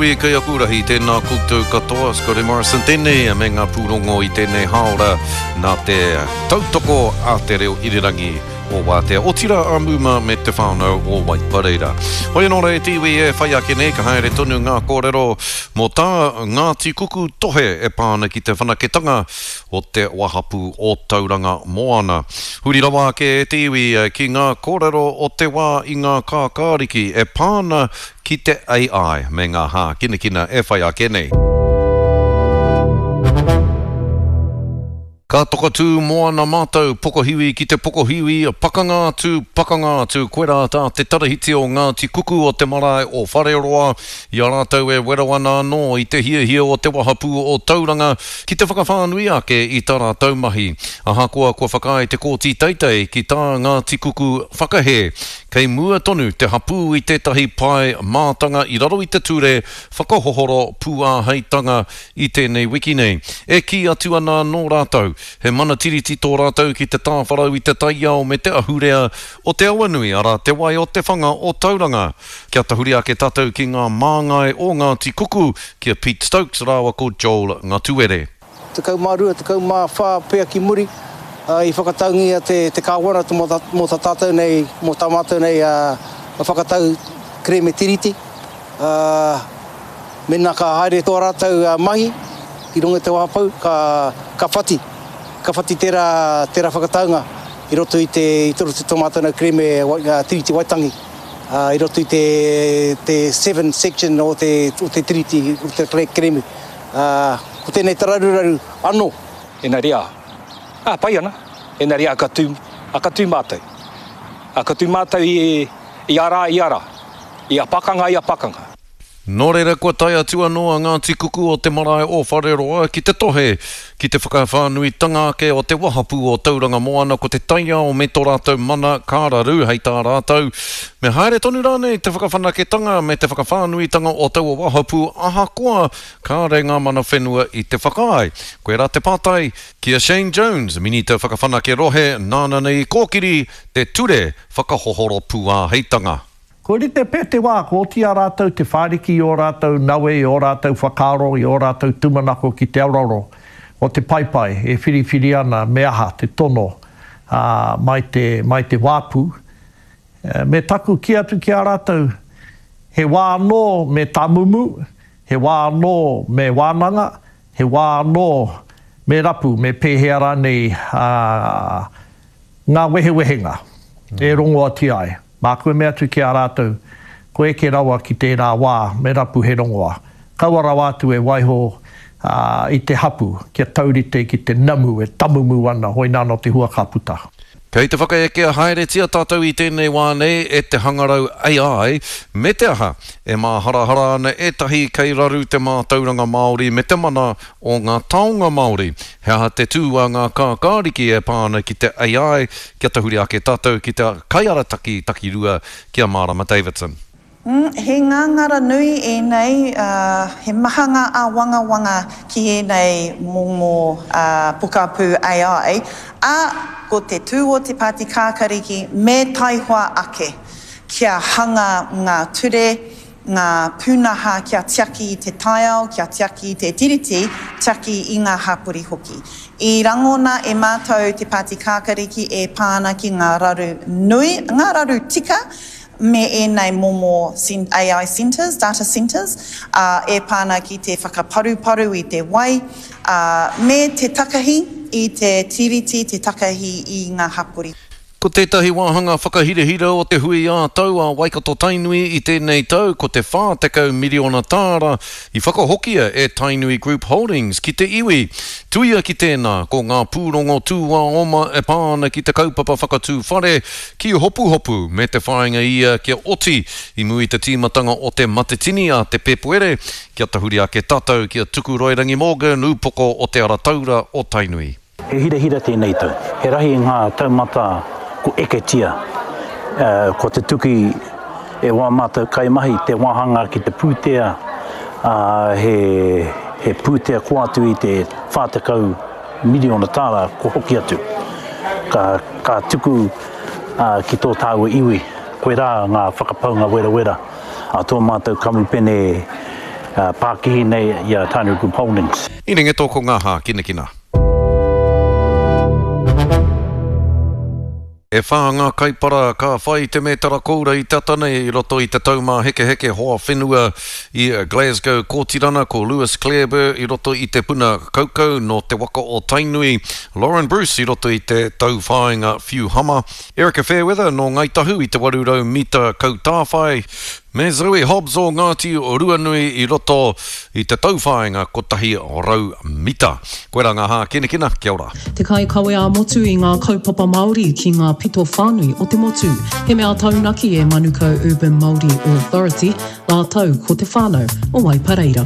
nui, kei aku rahi, tēnā koutou katoa, Scotty Morrison tēnei me ngā pūrongo i tēnei hāora nā te tautoko a te reo irirangi o Wātea, otirā a Muma me te whānau o Waipareira. Hoi anō rā e te iwi e whai ake nei, ka haere tonu ngā kōrero mō tā Ngāti Kuku tohe e pā ana ki te whanaketanga o te wahapū o Tauranga Moana. Huri rawa ake e te iwi ki ngā kōrero o te wā i ngā kākāriki e pā ana ki te AI me ngā hākinakina e whai ake nei. Ka tokatū moana mātou, pokohiwi ki te pokohiwi, pakanga atu, pakanga atu, koirā tā te tarahiti o Ngāti Kuku o te marae o Whareroa, i a rātou e wero ana anō i te hiahia o te wahapū o Tauranga ki te whakawhānui ake i tā rātou mahi. Ahakoa kua whakaae te Kōti Teitei ki tā Ngāti Kuku whakahē, kei mua tonu te hapū i tētahi pae mātanga i raro i te ture whakahohoro pūāheitanga i tēnei wiki nei. E kī atu ana anō rātou, he mana tiriti tō rātou ki te tāwharau i te taiao me te ahurea o te awanui, arā, te wai o te whanga o Tauranga. Kia tahuri ake tātou ki ngā māngai o Ngāti Kuku, ki a Pete Stokes rāua ko Joel Ngatuere. 12, 14 pea ki muri, i whakataungia te Kāwana mō tā tātou nei, mō tā mātou nei whakatau kerēme Tiriti. Mēnā ka haere tō rātou mahi i runga i te wahapou, ka whati, ka whati tērā, tērā whakataunga i roto i te, i roto i tō mātou nei kerēme Tiriti Waitangi. I roto i te te seven section o te o te tiriti o te kerēme. Ko tēnei te raruraru anō. Engari ā, ā, pai ana, engari ā, ka tū, ā, ka tū mātou. Ā, ka tū mātou i, i a rā, i a rā, i a pakanga, i a pakanga. Nō reira kua tae atu anō a Ngāti Kuku o te marae o Whareroa ki te tohe ki te whakawhānuitanga ake o te wahapū o Tauranga Moana ko te taiao me tō rātou mana ka raru hei tā rātou me haere tonu rānei te whakawhanaketanga me te whakawhānuitanga o taua wahapū ahakoa kāre ngā mana whenua i te whakaae. Koirā te pātai ki a Shane Jones, Minita Whakawhanake Rohe nāna nei i kōkiri te ture whakahohoro pūāheitanga. Kua rite pea te wā kua oti i a rātou te whāriki i ō rātou nawe, i ō rātou whakaaro, i ō rātou tūmanako ki te aroaro o te paepae e whiriwhiri ana me aha te tono mai te, mai te wāpu. Me taku kī atu ki a rātou, he wā anō me tāmumu, he wā anō me wānanga, he wā anō me rapu, me pēhea rānei ngā wehewehenga e rongoatia ai. Māku e mea atu ki a rātou, Kua eke rawa ki tērā wā me rapu he rongoa. Kaua rawa atu e waiho i te hapu kia taurite ki te namu e tamumu ana, hoinā nō te hua ka puta. Kei te whakaekea haeretia tātou i tēnei wā nei e te hangarau AI, me te aha, e māharahara ana ētahi kei raru te mātauranga Māori me te mana o ngā taonga Māori. He aha te tū a ngā kākāriki e pā ana ki te AI? Kia tahuri ake tātou ki te kaiarataki takirua ki a Mārama Davidson. He ngāngara nui ēnei, he maha ngā āwangawanga ki ēnei momo pokapū AI, ā, ko te tū o te Pāti Kākariki me taihoa ake kia hanga ngā ture, ngā pūnaha kia tiaki i te taiao, kia tiaki i te Tiriti, tiaki i ngā hapori hoki. I rangona e mātou te Pāti Kākariki e pā ana ki ngā raru nui, ngā raru tika, me ēnei momo AI centres, data centres, ā, e pā ana ki te whakaparuparu i te wai, ā, me te takahi i te Tiriti, te takahi i ngā hapori. Ko tētahi wāhanga whakahirahira o te hui ā-tau a Waikato-Tainui i tēnei tau ko te 40 miriona tāra i whakahokia e Tainui Group Holdings ki te iwi. Tuia ki tēnā, ko ngā pūrongo tūāoma e pā ana ki te kaupapa whakatū whare ki Hopuhopu me te whāinga ia kia oti i mua i te tīmatanga o te Matetini a te Pēpuere kia tahuri ake tātou ki a Tukuroirangi Morgan, ūpoko o Te Ara Taura o Tainui. He hirahira tēnei tau. He rahi ngā taumata ko eketia, ko tutuki e wā mātou kaimahi te wāhanga ki te pūtea, ā, he, he pūtea kō atu i te 40 miriona tāra kua hoki atu. Ka, ka tuku ki tō tāua iwi, koirā ngā whakapaunga werawera a tō mātou kamupene. pākihi nei i a Tainui Group Holdings. I ringe tō ko ngā hākinakina. E whā ngā kaipara ka whai te mētara koura i te ata nei i roto i te Taumāhekeheke Hoa Whenua i Glasgow, Kōtirana, ko Lewis Clareburt i roto i te puna kaukau nō te waka o Tainui, Lauren Bruce i roto i te tauwhāinga whiu hama, Erika Fairweather nō Ngāi Tahu i te 800 mita kautāwhai, Me Zoe Hobbs o Ngāti Ruanui i roto i te tauwhāinga 100 mita. Koirā ngā hākinakina, kia ora. Te kaikawe ā-motu i ngā kaupapa Māori ki ngā pito whānui o te motu. He mea taunaki e Manukau Urban Māori Authority rātou ko te whānau o Waipareira.